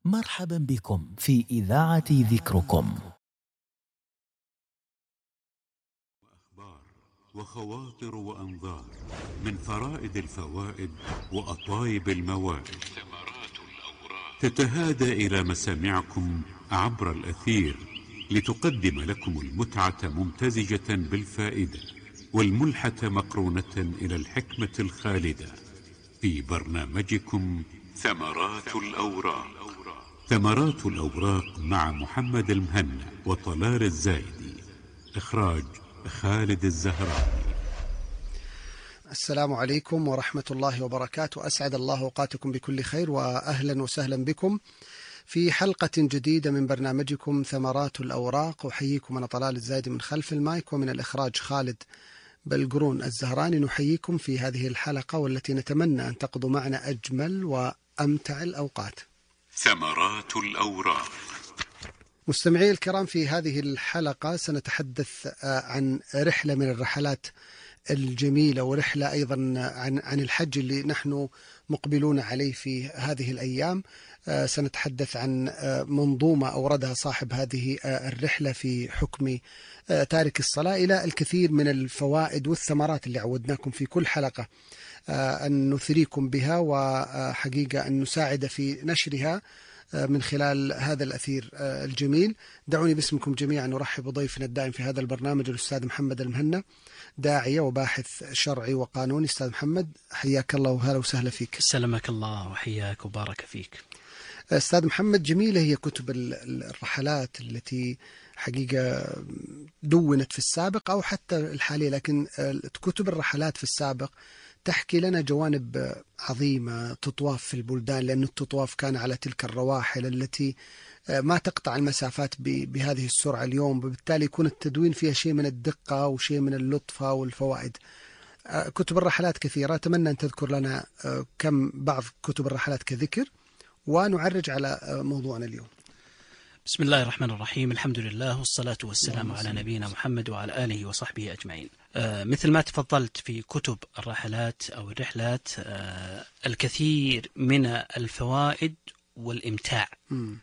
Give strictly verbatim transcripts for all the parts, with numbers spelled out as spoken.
مرحبا بكم في إذاعة ذكركم. أخبار وخواطر وأنظار من فرائد الفوائد وأطايب الموائد، ثمرات الأوراق تتهادى إلى مسامعكم عبر الأثير لتقدم لكم المتعة ممتزجة بالفائدة والملحة مقرونة إلى الحكمة الخالدة في برنامجكم ثمرات الأوراق. ثمرات الأوراق مع محمد المهنا وطلال الزايدي، إخراج خالد الزهراني. السلام عليكم ورحمة الله وبركاته. أسعد الله أوقاتكم بكل خير، وأهلا وسهلا بكم في حلقة جديدة من برنامجكم ثمرات الأوراق. أحييكم أنا طلال الزايدي من خلف المايك، ومن الإخراج خالد بلقرون الزهراني. نحييكم في هذه الحلقة والتي نتمنى أن تقضوا معنا أجمل وأمتع الأوقات. ثمرات الأوراق. مستمعي الكرام، في هذه الحلقة سنتحدث عن رحلة من الرحلات الجميلة، ورحلة أيضا عن عن الحج اللي نحن مقبلون عليه في هذه الأيام. سنتحدث عن منظومة أوردها صاحب هذه الرحلة في حكم تارك الصلاة إلى الكثير من الفوائد والثمرات اللي عودناكم في كل حلقة أن نثريكم بها، وحقيقة أن نساعد في نشرها من خلال هذا الأثير الجميل. دعوني باسمكم جميعا نرحب بضيفنا الدائم في هذا البرنامج الأستاذ محمد المهنا، داعية وباحث شرعي وقانوني. أستاذ محمد، حياك الله وهلا وسهلا فيك. سلمك الله وحياك وبارك فيك. أستاذ محمد، جميلة هي كتب الرحلات التي حقيقة دونت في السابق أو حتى الحالية، لكن كتب الرحلات في السابق تحكي لنا جوانب عظيمة تطواف في البلدان، لأن التطواف كان على تلك الرواحل التي ما تقطع المسافات بهذه السرعة اليوم، وبالتالي يكون التدوين فيها شيء من الدقة وشيء من اللطفة والفوائد. كتب الرحلات كثيرة، أتمنى أن تذكر لنا كم بعض كتب الرحلات كذكر، ونعرج على موضوعنا اليوم. بسم الله الرحمن الرحيم، الحمد لله والصلاة والسلام على نبينا محمد وعلى آله وصحبه أجمعين. آه مثل ما تفضلت في كتب الرحلات أو الرحلات، آه الكثير من الفوائد والإمتاع، م.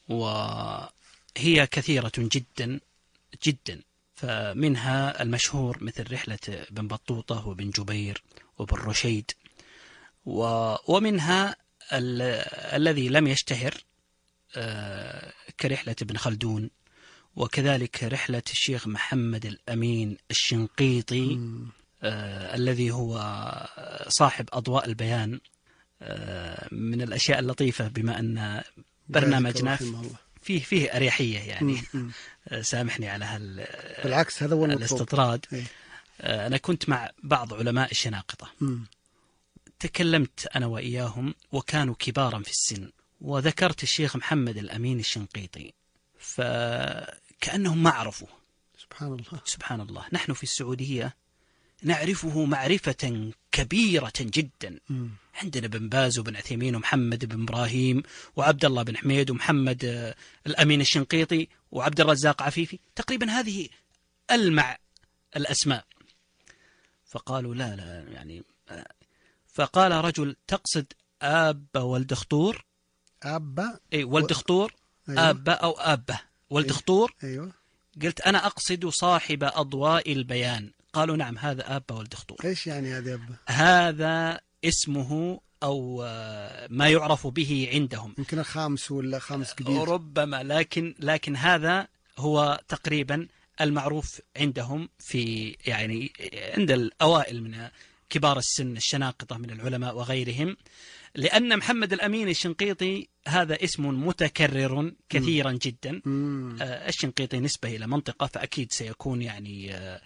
وهي كثيرة جدا جدا. فمنها المشهور مثل رحلة بن بطوطة وبن جبير وبن رشيد، ومنها ال الذي لم يشتهر آه كرحلة ابن خلدون، وكذلك رحلة الشيخ محمد الأمين الشنقيطي آه الذي هو صاحب أضواء البيان. آه من الأشياء اللطيفة بما أن برنامجنا فيه فيه أريحية، يعني آه سامحني على هال بالعكس هذا هو الاستطراد. آه أنا كنت مع بعض علماء الشناقطة، م. تكلمت أنا وإياهم وكانوا كبارا في السن، وذكرت الشيخ محمد الأمين الشنقيطي، فكأنهم ما عرفوا. سبحان الله سبحان الله. نحن في السعودية نعرفه معرفة كبيرة جدا. م. عندنا بن باز وبن عثيمين ومحمد بن إبراهيم وعبد الله بن حميد ومحمد الأمين الشنقيطي وعبد الرزاق عفيفي، تقريبا هذه ألمع الأسماء. فقالوا لا لا يعني، فقال رجل: تقصد آب ولد خطور؟ آبا أي ولد خطور. أيوة. آبا أو آبة ولد أيوة. خطور. أيوة. قلت أنا أقصد صاحب أضواء البيان. قالوا نعم، هذا آبا ولد خطور. إيش يعني هذا آبا؟ هذا اسمه أو ما يعرف به عندهم، يمكن الخامس ولا خامس جديد ربما، لكن لكن هذا هو تقريبا المعروف عندهم، في يعني عند الأوائل من كبار السن الشناقطة من العلماء وغيرهم، لأن محمد الأمين الشنقيطي هذا اسم متكرر كثيرا جدا. آه الشنقيطي نسبة إلى منطقة، فأكيد سيكون يعني آه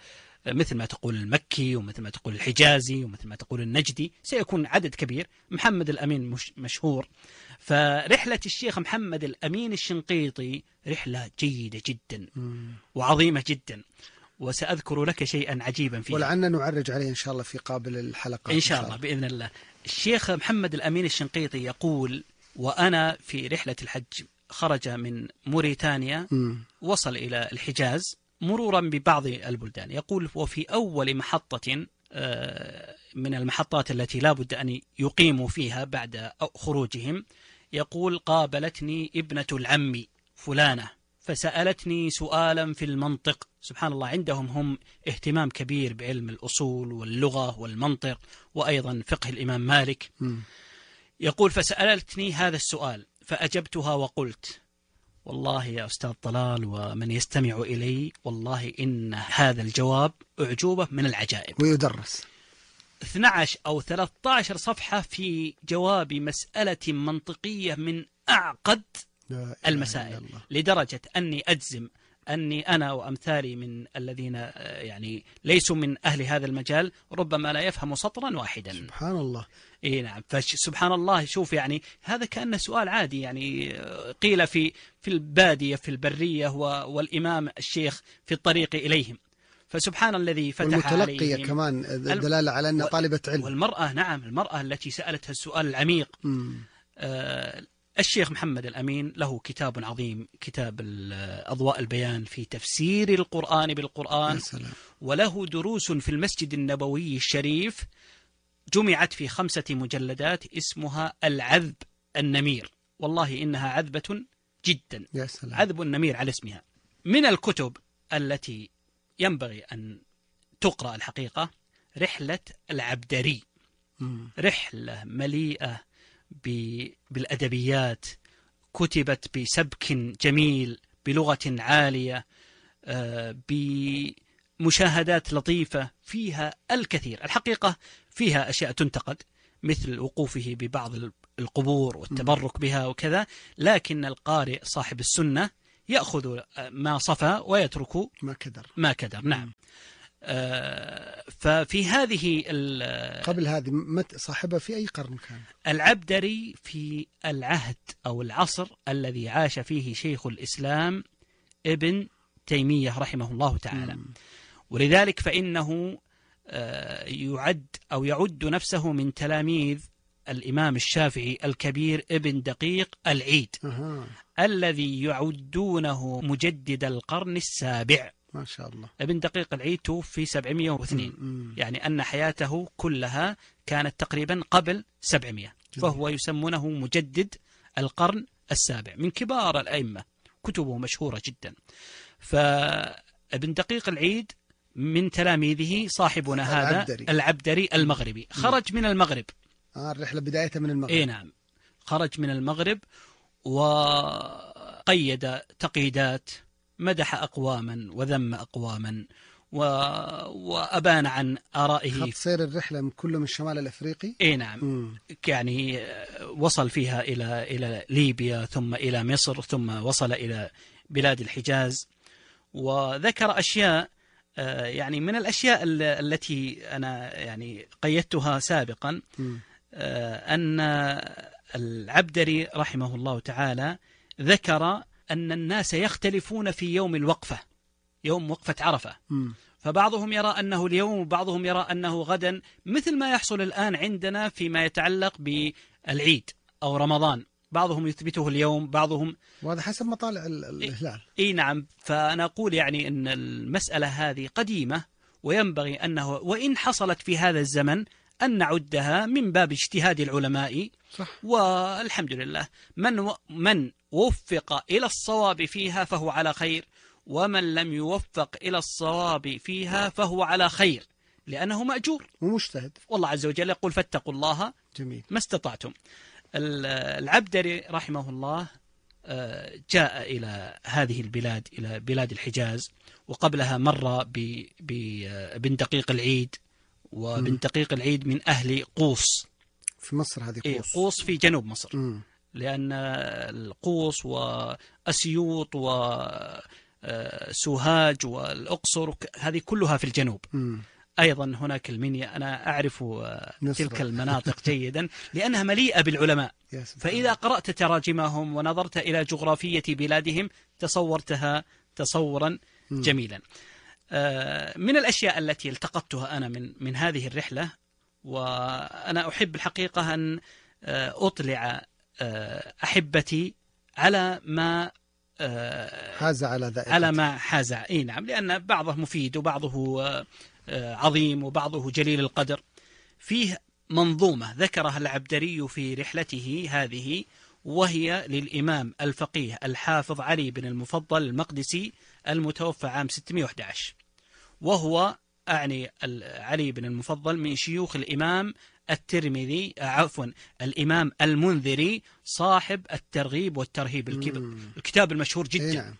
مثل ما تقول المكي ومثل ما تقول الحجازي ومثل ما تقول النجدي، سيكون عدد كبير. محمد الأمين مش مشهور. فرحلة الشيخ محمد الأمين الشنقيطي رحلة جيدة جدا وعظيمة جدا، وسأذكر لك شيئا عجيبا فيه، ولعلنا نعرج عليه إن شاء الله في قابل الحلقة إن شاء الله بإذن الله. الشيخ محمد الأمين الشنقيطي يقول: وأنا في رحلة الحج خرج من موريتانيا، م. وصل إلى الحجاز مرورا ببعض البلدان. يقول: وفي أول محطة من المحطات التي لا بد أن يقيموا فيها بعد خروجهم، يقول: قابلتني ابنة العم فلانة فسألتني سؤالا في المنطق. سبحان الله، عندهم هم اهتمام كبير بعلم الأصول واللغة والمنطق، وأيضا فقه الإمام مالك. م. يقول: فسألتني هذا السؤال فأجبتها وقلت: والله يا أستاذ طلال ومن يستمع إلي، والله إن هذا الجواب أعجوبة من العجائب. ويدرس اثنتي عشرة أو ثلاثة عشر صفحة في جواب مسألة منطقية من أعقد المسائل، لدرجة أني أجزم أني أنا وأمثالي من الذين يعني ليسوا من أهل هذا المجال ربما لا يفهم سطرا واحدا. سبحان الله. إيه نعم. فسبحان الله، شوف يعني هذا كأنه سؤال عادي، يعني قيل في في البادية في البرية والإمام الشيخ في الطريق إليهم. فسبحان الذي فتح عليهم. والمتلقية كمان دلالة على أنها طالبة علم. والمرأة، نعم، المرأة التي سألتها السؤال العميق. آه الشيخ محمد الأمين له كتاب عظيم، كتاب أضواء البيان في تفسير القرآن بالقرآن، وله دروس في المسجد النبوي الشريف جمعت في خمسة مجلدات اسمها العذب النمير. والله إنها عذبة جدا، عذب النمير على اسمها. من الكتب التي ينبغي أن تقرأ الحقيقة رحلة العبدري، رحلة مليئة بالأدبيات، كتبت بسبك جميل، بلغة عالية، بمشاهدات لطيفة، فيها الكثير الحقيقة. فيها أشياء تنتقد مثل وقوفه ببعض القبور والتبرك بها وكذا، لكن القارئ صاحب السنة يأخذ ما صفى ويترك ما كدر. ما كدر. نعم. آه ففي هذه قبل هذه مت صاحبها في أي قرن كان؟ العبدري في العهد أو العصر الذي عاش فيه شيخ الإسلام ابن تيمية رحمه الله تعالى. م. ولذلك فإنه آه يعد أو يعد نفسه من تلاميذ الإمام الشافعي الكبير ابن دقيق العيد. أه. الذي يعدونه مجدد القرن السابع. ما شاء الله. ابن دقيق العيد توفي سبعمائة واثنين، م- م. يعني أن حياته كلها كانت تقريبا قبل سبعمائة، فهو يسمونه مجدد القرن السابع، من كبار الأئمة، كتبه مشهورة جدا. فابن دقيق العيد من تلاميذه صاحبنا هذا العبدري, العبدري المغربي، خرج من المغرب. آه الرحلة بدايتها من المغرب. إيه نعم، خرج من المغرب وقيد تقييدات، مدح أقواما وذم أقواما، و... وأبان عن آرائه. خط سير الرحلة من كله من الشمال الأفريقي. إيه نعم. م. يعني وصل فيها إلى إلى ليبيا، ثم إلى مصر، ثم وصل إلى بلاد الحجاز، وذكر أشياء يعني من الأشياء التي أنا يعني قيدتها سابقا. م. أن العبدري رحمه الله تعالى ذكر أن الناس يختلفون في يوم الوقفة، يوم وقفة عرفة. م. فبعضهم يرى أنه اليوم، وبعضهم يرى أنه غدا، مثل ما يحصل الآن عندنا فيما يتعلق بالعيد أو رمضان، بعضهم يثبته اليوم، بعضهم، وهذا حسب مطالع الهلال. إيه نعم. فأنا أقول يعني أن المسألة هذه قديمة، وينبغي أنه وإن حصلت في هذا الزمن أن نعدها من باب اجتهاد العلماء. صح. والحمد لله، من و... من وفق إلى الصواب فيها فهو على خير، ومن لم يوفق إلى الصواب فيها فهو على خير، لأنه مأجور ومجتهد. والله عز وجل يقول: فاتقوا الله جميل ما استطعتم. العبدري رحمه الله جاء إلى هذه البلاد، إلى بلاد الحجاز، وقبلها مر بابن دقيق العيد، وابن دقيق العيد من أهل قوس في مصر. هذه قوس. إيه قوس في جنوب مصر. م. لأن القوس وأسيوط وسوهاج والأقصر هذه كلها في الجنوب. م. أيضا هناك المنيا، أنا أعرف تلك المناطق جيدا لأنها مليئة بالعلماء. فإذا قرأت تراجمهم ونظرت إلى جغرافية بلادهم تصورتها تصورا م. جميلا. من الأشياء التي التقطتها أنا من من هذه الرحلة، وأنا أحب الحقيقة أن أطلع أحبتي على ما حاز على ذلك، على ما حاز. إيه نعم، لأن بعضه مفيد وبعضه عظيم وبعضه جليل القدر. فيه منظومة ذكرها العبدري في رحلته هذه، وهي للإمام الفقيه الحافظ علي بن المفضل المقدسي المتوفى عام ستمائة وأحد عشر، وهو أعني علي بن المفضل من شيوخ الإمام الترمذي عفوا الإمام المنذري صاحب الترغيب والترهيب، الكتاب المشهور جدا.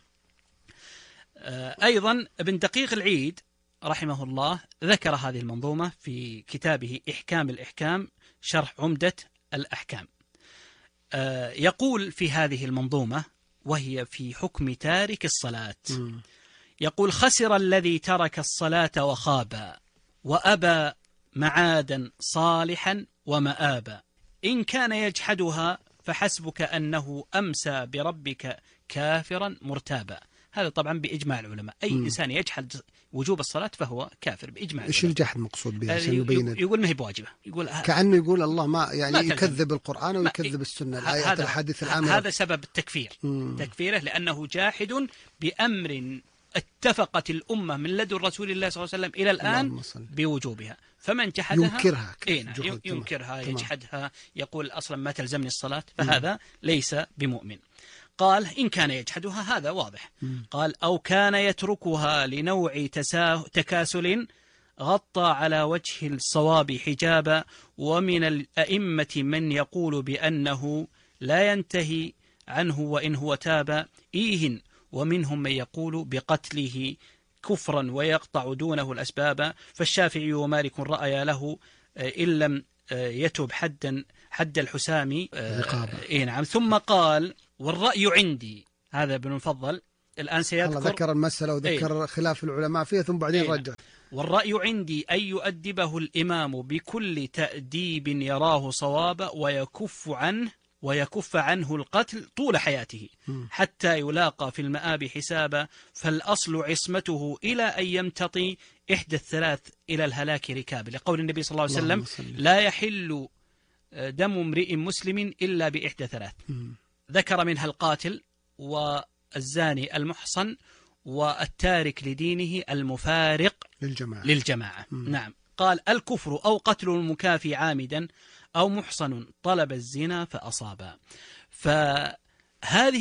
أيضا ابن دقيق العيد رحمه الله ذكر هذه المنظومة في كتابه إحكام الإحكام شرح عمدة الأحكام. يقول في هذه المنظومة وهي في حكم تارك الصلاة، يقول: خسر الذي ترك الصلاة وخاب وأبى معادا صالحا ومآبا، إن كان يجحدها فحسبك أنه أمسى بربك كافرا مرتابا. هذا طبعا بإجماع العلماء، أي م. إنسان يجحد وجوب الصلاة فهو كافر بإجماع العلماء. إيش الجحد مقصود به؟ يقول, يقول ما هي بواجبة، يقول كأنه يقول الله ما يعني ما يكذب القرآن ويكذب السنة، الآيات الحديث العامة. هذا سبب التكفير، م. تكفيره لأنه جاحد بأمر اتفقت الأمة من لدن رسول الله صلى الله عليه وسلم إلى الآن بوجوبها، فمن جحدها ينكرها إيه ينكرها يجحدها، يقول أصلا ما تلزمني الصلاة، فهذا م. ليس بمؤمن. قال: إن كان يجحدها هذا واضح. م. قال: أو كان يتركها لنوع تكاسل غطى على وجه الصواب حجابا، ومن الأئمة من يقول بأنه لا ينتهي عنه وإن هو تاب إيهن، ومنهم من يقول بقتله كفرا ويقطع دونه الأسباب، فالشافعي ومالك رأيا له إن لم يتب حدا حد الحسام. إيه نعم. ثم قال: والرأي عندي، هذا ابن المفضل الآن سيذكر ذكر المسألة وذكر ايه خلاف العلماء فيها ثم بعدين ايه رجع. والرأي عندي أن يؤدبه الإمام بكل تأديب يراه صوابا، ويكف عنه ويكف عنه القتل طول حياته حتى يلاقى في المآب حسابا، فالأصل عصمته إلى أن يمتطي إحدى الثلاث إلى الهلاك ركاب، لقول النبي صلى الله عليه وسلم: لا يحل دم امرئ مسلم إلا بإحدى ثلاث. ذكر منها القاتل والزاني المحصن والتارك لدينه المفارق للجماعة, للجماعة. نعم. قال: الكفر أو قتل المكافي عامدا أو محصن طلب الزنا فأصابا. فهذه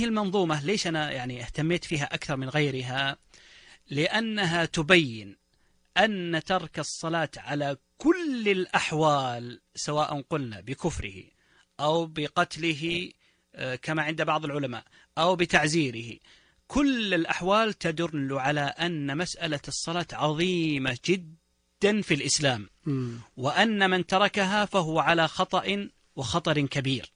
المنظومة ليش أنا يعني اهتميت فيها أكثر من غيرها؟ لأنها تبين أن ترك الصلاة على كل الأحوال، سواء قلنا بكفره أو بقتله كما عند بعض العلماء أو بتعزيره، كل الأحوال تدل على أن مسألة الصلاة عظيمة جدا في الإسلام، وأن من تركها فهو على خطأ وخطر كبير.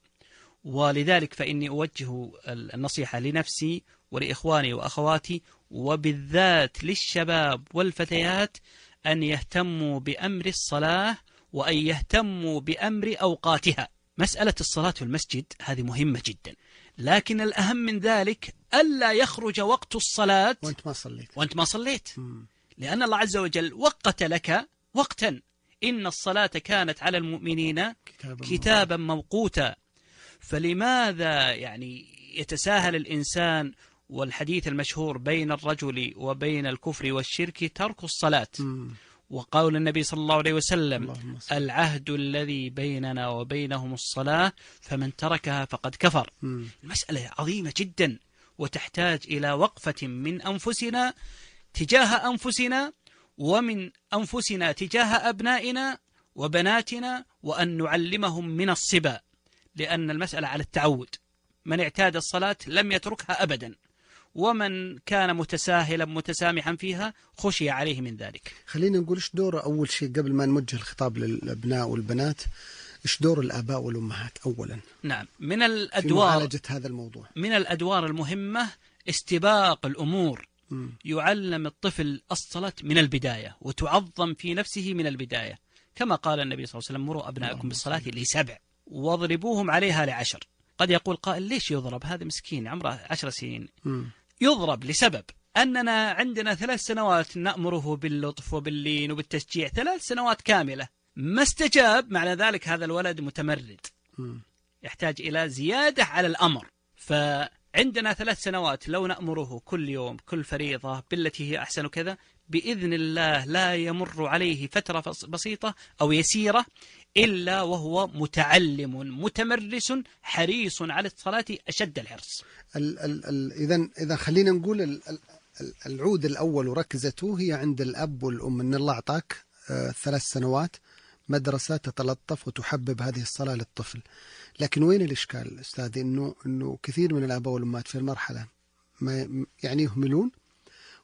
ولذلك فإني أوجه النصيحة لنفسي ولإخواني وأخواتي، وبالذات للشباب والفتيات، أن يهتموا بأمر الصلاة وأن يهتموا بأمر أوقاتها. مسألة الصلاة في المسجد هذه مهمة جدا، لكن الأهم من ذلك ألا يخرج وقت الصلاة وأنت ما صليت, وأنت ما صليت. لأن الله عز وجل وقت لك وقتا، إن الصلاة كانت على المؤمنين كتابا, كتابا موقوتا. فلماذا يعني يتساهل الإنسان؟ والحديث المشهور بين الرجل وبين الكفر والشرك ترك الصلاة، م. وقول النبي صلى الله عليه وسلم: العهد الذي بيننا وبينهم الصلاة فمن تركها فقد كفر. م. المسألة عظيمة جدا، وتحتاج إلى وقفة من أنفسنا تجاه أنفسنا، ومن أنفسنا تجاه أبنائنا وبناتنا، وأن نعلمهم من الصبا، لأن المسألة على التعود. من اعتاد الصلاة لم يتركها أبدا، ومن كان متساهلا متسامحا فيها خشي عليه من ذلك. خلينا نقول إيش دور أول شيء قبل ما نوجه الخطاب للأبناء والبنات، إيش دور الآباء والأمهات أولا؟ نعم، من الأدوار في معالجة هذا الموضوع، من الأدوار المهمة استباق الأمور. م. يعلم الطفل الصلاة من البداية، وتعظم في نفسه من البداية، كما قال النبي صلى الله عليه وسلم: مروا أبنائكم بالصلاة لسبع واضربوهم عليها لعشر. قد يقول قائل: ليش يضرب؟ هذا مسكين عمره عشر سنين. م. يضرب لسبب أننا عندنا ثلاث سنوات نأمره باللطف وباللين وبالتشجيع، ثلاث سنوات كاملة ما استجاب، معنى ذلك هذا الولد متمرد، م. يحتاج إلى زيادة على الأمر. فعندنا ثلاث سنوات لو نأمره كل يوم كل فريضة بالتي هي أحسن كذا، بإذن الله لا يمر عليه فترة بسيطة أو يسيرة إلا وهو متعلم متمرس حريص على الصلاة أشد الحرص. إذا إذا خلينا نقول ال ال العود الأول وركزته هي عند الأب والأم، أن الله أعطاك آه ثلاث سنوات مدرسة تتلطف وتحبب هذه الصلاة للطفل. لكن وين الإشكال أستاذي؟ إنه إنه كثير من الآباء والأمهات في المرحلة ما يعني يهملون،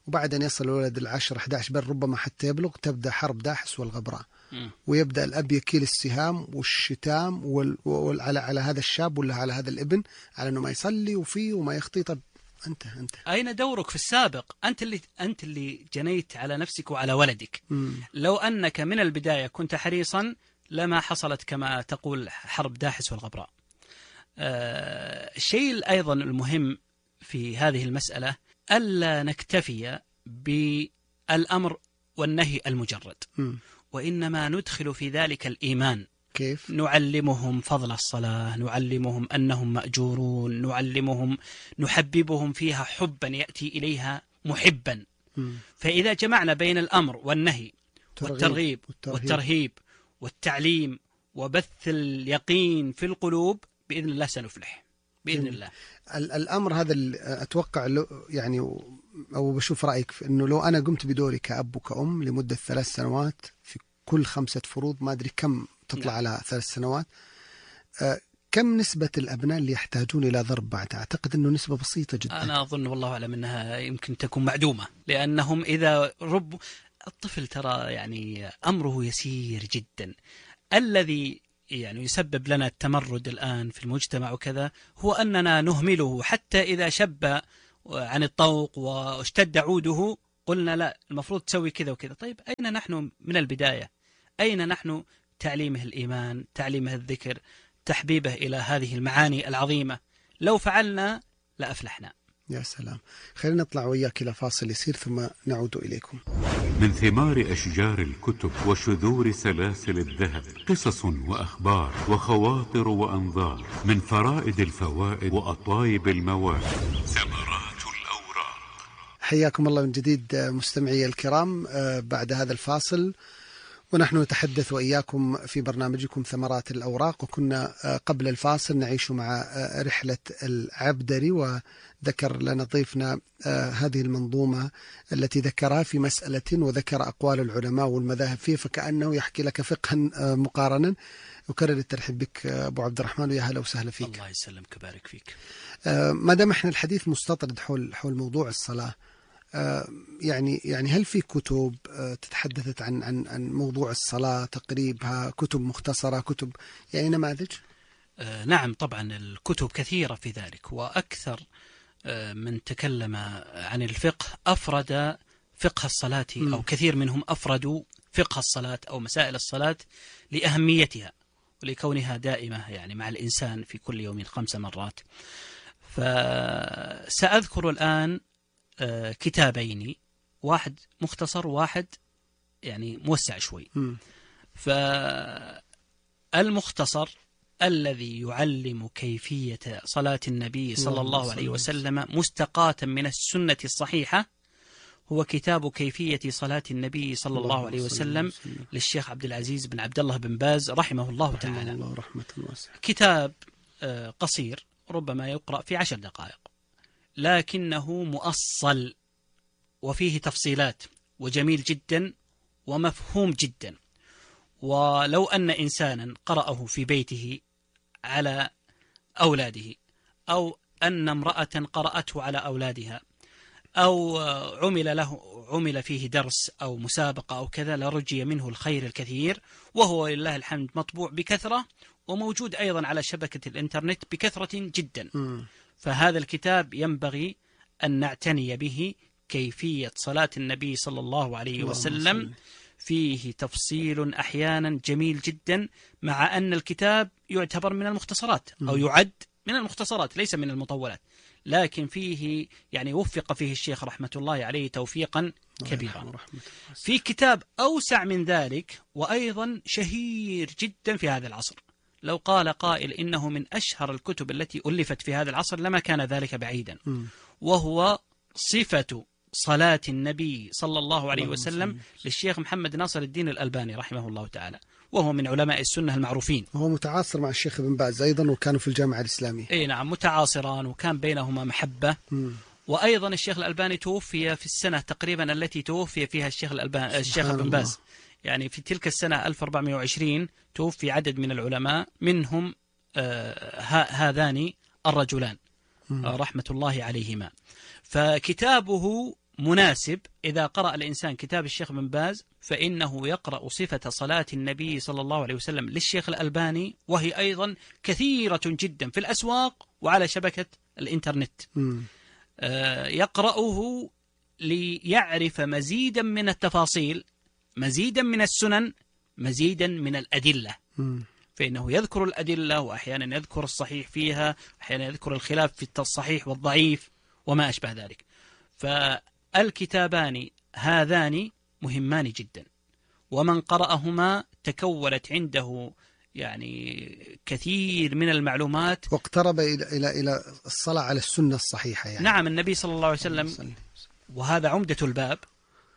وبعد أن يصل الولد العشر أحد عشر بل ربما حتى يبلغ تبدأ حرب داحس والغبراء، ويبدأ الأب يكيل السهام والشتام وال... وال... على على هذا الشاب ولا على هذا الابن على إنه ما يصلي وفيه وما يخطي. طب أنت أنت أين دورك في السابق؟ أنت اللي أنت اللي جنيت على نفسك وعلى ولدك. مم. لو أنك من البداية كنت حريصا لما حصلت كما تقول حرب داحس والغبراء. آه... الشيء أيضا المهم في هذه المسألة ألا نكتفي بالأمر والنهي المجرد، م. وإنما ندخل في ذلك الإيمان. كيف؟ نعلمهم فضل الصلاة، نعلمهم أنهم مأجورون، نعلمهم نحببهم فيها حبا يأتي إليها محبا. م. فإذا جمعنا بين الأمر والنهي والترغيب والترهيب, والترهيب والتعليم وبث اليقين في القلوب بإذن الله سنفلح بإذن الله. الأمر هذا أتوقع يعني، أو بشوف رأيك في أنه لو أنا قمت بدوري كأب وكأم لمدة ثلاث سنوات في كل خمسة فروض، ما أدري كم تطلع نعم. على ثلاث سنوات، كم نسبة الأبناء اللي يحتاجون إلى ضرب بعد؟ أعتقد أنه نسبة بسيطة جدا. أنا أظن والله أعلم أنها يمكن تكون معدومة، لأنهم إذا رب الطفل ترى يعني أمره يسير جدا. الذي يعني يسبب لنا التمرد الآن في المجتمع وكذا هو أننا نهمله، حتى إذا شب عن الطوق واشتد عوده قلنا لا المفروض تسوي كذا وكذا. طيب أين نحن من البداية؟ أين نحن تعليمه الإيمان، تعليمه الذكر، تحبيبه إلى هذه المعاني العظيمة؟ لو فعلنا لأفلحنا. يا سلام. خلينا نطلع وياك إلى فاصل يسير ثم نعود إليكم. من ثمار أشجار الكتب وشذور سلاسل الذهب قصص وأخبار وخواطر وأنظار، من فرائد الفوائد وأطايب المواهب ثمرات الأوراق. حياكم الله من جديد مستمعي الكرام بعد هذا الفاصل، ونحن نتحدث وإياكم في برنامجكم ثمرات الأوراق. وكنا قبل الفاصل نعيش مع رحلة العبدري، وذكر لنا ضيفنا هذه المنظومة التي ذكرها في مسألة وذكر أقوال العلماء والمذاهب فيه، فكأنه يحكي لك فقها مقارنا. وكرر الترحيب بك أبو عبد الرحمن، ويا هلا وسهلا فيك. الله يسلمك ويبارك فيك. ما دام احنا الحديث مستطرد حول حول موضوع الصلاة، يعني يعني هل في كتب تتحدثت عن عن عن موضوع الصلاة، تقريبها، كتب مختصرة، كتب يعني نماذج؟ نعم طبعا الكتب كثيرة في ذلك، وأكثر من تكلم عن الفقه أفرد فقه الصلاة، أو كثير منهم أفردوا فقه الصلاة أو مسائل الصلاة لأهميتها ولكونها دائمة يعني مع الإنسان في كل يوم خمس مرات. فسأذكر الآن كتابين، واحد مختصر وواحد يعني موسع شوي. فالمختصر الذي يعلم كيفية صلاة النبي صلى الله عليه وسلم مستقاة من السنة الصحيحة هو كتاب كيفية صلاة النبي صلى الله عليه وسلم للشيخ عبد العزيز بن عبد الله بن باز رحمه الله تعالى. الله رحمة واسعة. كتاب قصير ربما يقرأ في عشر دقائق، لكنه مؤصل وفيه تفصيلات وجميل جدا ومفهوم جدا. ولو أن إنسانا قرأه في بيته على أولاده، أو أن امرأة قرأته على أولادها، أو عمل له عمل فيه درس أو مسابقة أو كذا، لرجي منه الخير الكثير. وهو لله الحمد مطبوع بكثرة وموجود أيضا على شبكة الإنترنت بكثرة جدا. م. فهذا الكتاب ينبغي أن نعتني به، كيفية صلاة النبي صلى الله عليه وسلم. فيه تفصيل أحيانا جميل جدا، مع أن الكتاب يعتبر من المختصرات أو يعد من المختصرات ليس من المطولات، لكن فيه يعني وفق فيه الشيخ رحمة الله عليه توفيقا كبيرا. في كتاب أوسع من ذلك وأيضا شهير جدا في هذا العصر، لو قال قائل إنه من أشهر الكتب التي ألفت في هذا العصر لما كان ذلك بعيدا، وهو صفة صلاة النبي صلى الله عليه وسلم للشيخ محمد ناصر الدين الألباني رحمه الله تعالى. وهو من علماء السنة المعروفين. وهو متعاصر مع الشيخ ابن باز أيضا، وكانوا في الجامعة الإسلامية. أي نعم، متعاصران وكان بينهما محبة. م. وأيضا الشيخ الألباني توفي في السنة تقريبا التي توفي فيها الشيخ الألباني الشيخ ابن باز، يعني في تلك السنة ألف وأربعمائة وعشرين توفي عدد من العلماء، منهم آه هذان الرجلان آه رحمة الله عليهما. فكتابه مناسب إذا قرأ الإنسان كتاب الشيخ ابن باز، فإنه يقرأ صفة صلاة النبي صلى الله عليه وسلم للشيخ الألباني، وهي أيضا كثيرة جدا في الأسواق وعلى شبكة الإنترنت. آه يقرأه ليعرف مزيدا من التفاصيل، مزيدا من السنن، مزيدا من الأدلة. م. فإنه يذكر الأدلة، وأحيانا يذكر الصحيح فيها، أحيانا يذكر الخلاف في الصحيح والضعيف وما أشبه ذلك. فالكتابان هذان مهمان جدا، ومن قرأهما تكونت عنده يعني كثير من المعلومات، واقترب إلى إلى إلى الصلاة على السنة الصحيحة يعني. نعم، النبي صلى الله عليه وسلم، وهذا عمدة الباب،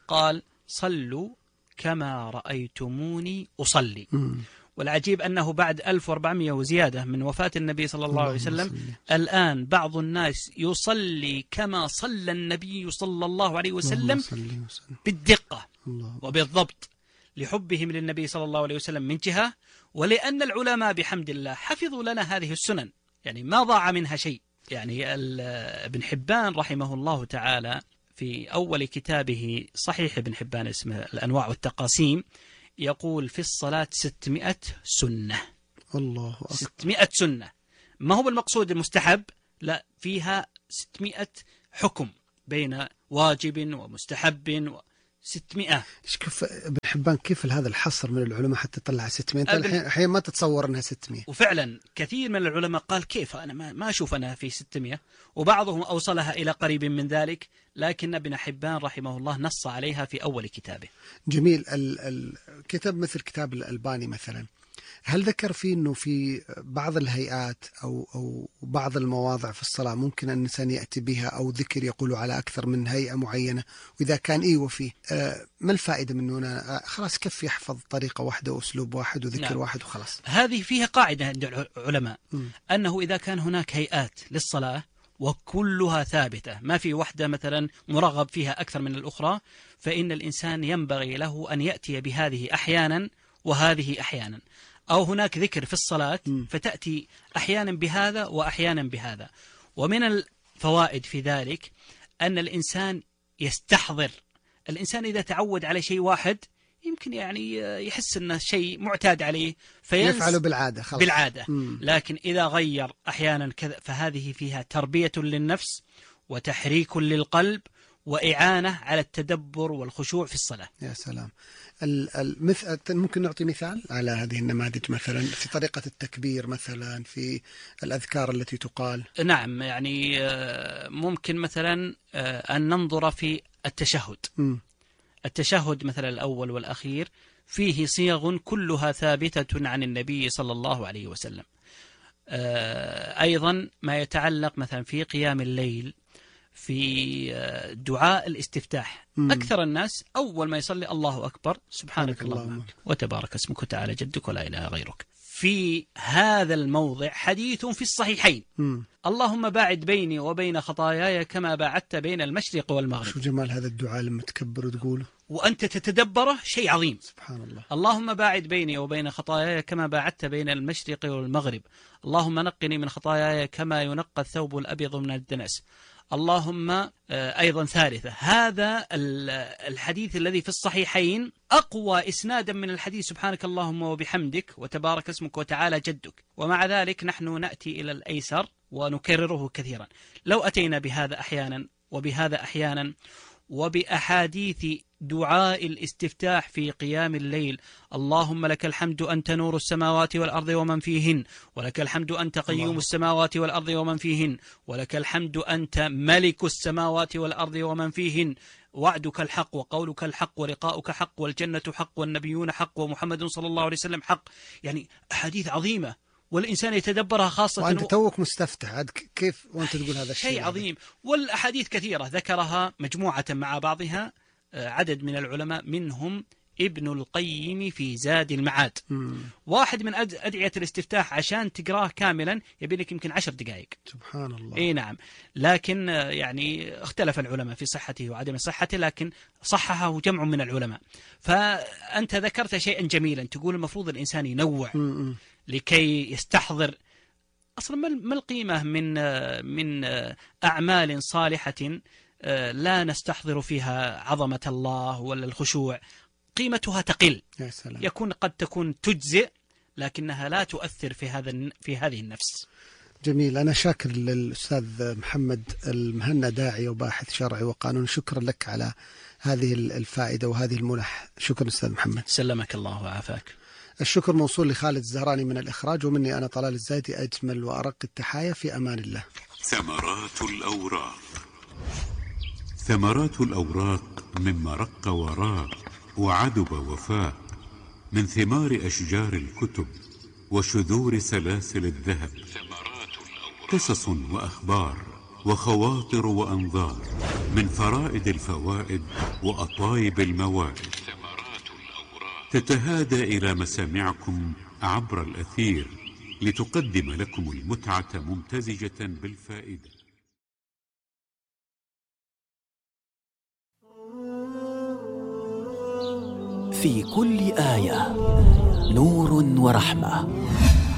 قال: صلوا كما رأيتموني أصلي. م. والعجيب أنه بعد ألف وأربعمائة وزيادة من وفاة النبي صلى الله عليه وسلم، الآن بعض الناس يصلي كما صلى النبي صلى الله عليه وسلم بالدقة وبالضبط، لحبهم للنبي صلى الله عليه وسلم من جهة، ولأن العلماء بحمد الله حفظوا لنا هذه السنن، يعني ما ضاع منها شيء. يعني ابن حبان رحمه الله تعالى في أول كتابه صحيح ابن حبان اسمه الأنواع والتقاسيم، يقول في الصلاة ستمائة سنة. الله أكبر. ستمائة سنة، ما هو بالمقصود المستحب، لا، فيها ستمائة حكم بين واجب ومستحب و ستمائة. ايش كيف ابن حبان كيف هذا الحصر من العلماء حتى طلع ستمائة؟ الحين الحين ما تتصور انها ستمائة. وفعلا كثير من العلماء قال كيف انا ما, ما اشوف انها في ستمائة، وبعضهم اوصلها الى قريب من ذلك، لكن ابن حبان رحمه الله نص عليها في اول كتابه. جميل. الكتاب مثل كتاب الألباني مثلا، هل ذكر فيه أنه في بعض الهيئات أو أو بعض المواضع في الصلاة ممكن أن الإنسان يأتي بها، أو ذكر يقولوا على أكثر من هيئة معينة؟ وإذا كان إيه وفيه آه ما الفائدة منه؟ أنا خلاص كيف يحفظ طريقة واحدة وأسلوب واحد وذكر نعم. واحد وخلاص. هذه فيها قاعدة عند العلماء م. أنه إذا كان هناك هيئات للصلاة وكلها ثابتة، ما في واحدة مثلا مرغب فيها أكثر من الأخرى، فإن الإنسان ينبغي له أن يأتي بهذه أحيانا وهذه أحيانا، أو هناك ذكر في الصلاة فتأتي أحيانا بهذا وأحيانا بهذا. ومن الفوائد في ذلك أن الإنسان يستحضر. الإنسان إذا تعود على شيء واحد يمكن يعني يحس أنه شيء معتاد عليه فيفعله بالعادة خلاص. بالعادة. لكن إذا غير أحيانا كذا، فهذه فيها تربية للنفس وتحريك للقلب وإعانة على التدبر والخشوع في الصلاة. يا سلام. المثل ممكن نعطي مثال على هذه النماذج، مثلا في طريقة التكبير، مثلا في الأذكار التي تقال. نعم، يعني ممكن مثلا أن ننظر في التشهد. م. التشهد مثلا الأول والأخير فيه صيغ كلها ثابتة عن النبي صلى الله عليه وسلم. أيضا ما يتعلق مثلا في قيام الليل، في دعاء الاستفتاح. مم. أكثر الناس أول ما يصلي الله أكبر، سبحانك اللهم وتبارك اسمك وتعالى جدك ولا إله غيرك. في هذا الموضع حديث في الصحيحين: مم. اللهم باعد بيني وبين خطاياي كما باعدت بين المشرق والمغرب. شو جمال هذا الدعاء لما تكبر وتقوله وأنت تتدبره، شيء عظيم. سبحان الله. اللهم باعد بيني وبين خطاياي كما باعدت بين المشرق والمغرب. اللهم نقني من خطاياي كما ينقى الثوب الأبيض من الدنس. اللهم أيضا ثالثة. هذا الحديث الذي في الصحيحين أقوى إسنادا من الحديث سبحانك اللهم وبحمدك وتبارك اسمك وتعالى جدك. ومع ذلك نحن نأتي إلى الأيسر ونكرره كثيرا. لو أتينا بهذا أحيانا وبهذا أحيانا، وبأحاديث دعاء الاستفتاح في قيام الليل: اللهم لك الحمد أنت نور السماوات والأرض ومن فيهن، ولك الحمد أنت قيوم السماوات والأرض ومن فيهن، ولك الحمد أنت ملك السماوات والأرض ومن فيهن، وعدك الحق وقولك الحق ولقاؤك حق والجنة حق والنبيون حق ومحمد صلى الله عليه وسلم حق. يعني أحاديث عظيمة والإنسان يتدبرها، خاصة وأنت توك مستفتح، عاد كيف وأنت تقول هذا الشيء؟ شيء عظيم. والأحاديث كثيرة ذكرها مجموعة مع بعضها عدد من العلماء، منهم ابن القيم في زاد المعاد. مم. واحد من أد- أدعية الاستفتاح عشان تقراه كاملا يبي لك يمكن عشر دقائق. سبحان الله. اي نعم. لكن آه، يعني اختلف العلماء في صحته وعدم صحته، لكن صححه جمع من العلماء. فأنت ذكرت شيئا جميلا، تقول المفروض الإنسان ينوع مم. لكي يستحضر أصلا ما ما القيمة من آه، من آه، أعمال صالحة آه، لا نستحضر فيها عظمة الله ولا الخشوع، قيمتها تقل. يا سلام. يكون قد تكون تجزئ لكنها لا تؤثر في هذا الن- في هذه النفس. جميل. أنا شاكر للأستاذ محمد المهنا، داعية وباحث شرعي وقانون، شكرا لك على هذه الفائدة وهذه المنح. شكرا أستاذ محمد. سلمك الله وعافاك. الشكر موصول لخالد الزهراني من الإخراج، ومني أنا طلال الزايدي أجمل وأرق التحايا، في أمان الله. ثمرات الأوراق. ثمرات الأوراق مما رق وراق وعذب وفاق، من ثمار أشجار الكتب وشذور سلاسل الذهب. قصص وأخبار وخواطر وأنظار، من فرائد الفوائد وأطايب الموائد، تتهادى إلى مسامعكم عبر الأثير لتقدم لكم المتعة ممتزجة بالفائدة. في كل آية نور ورحمة.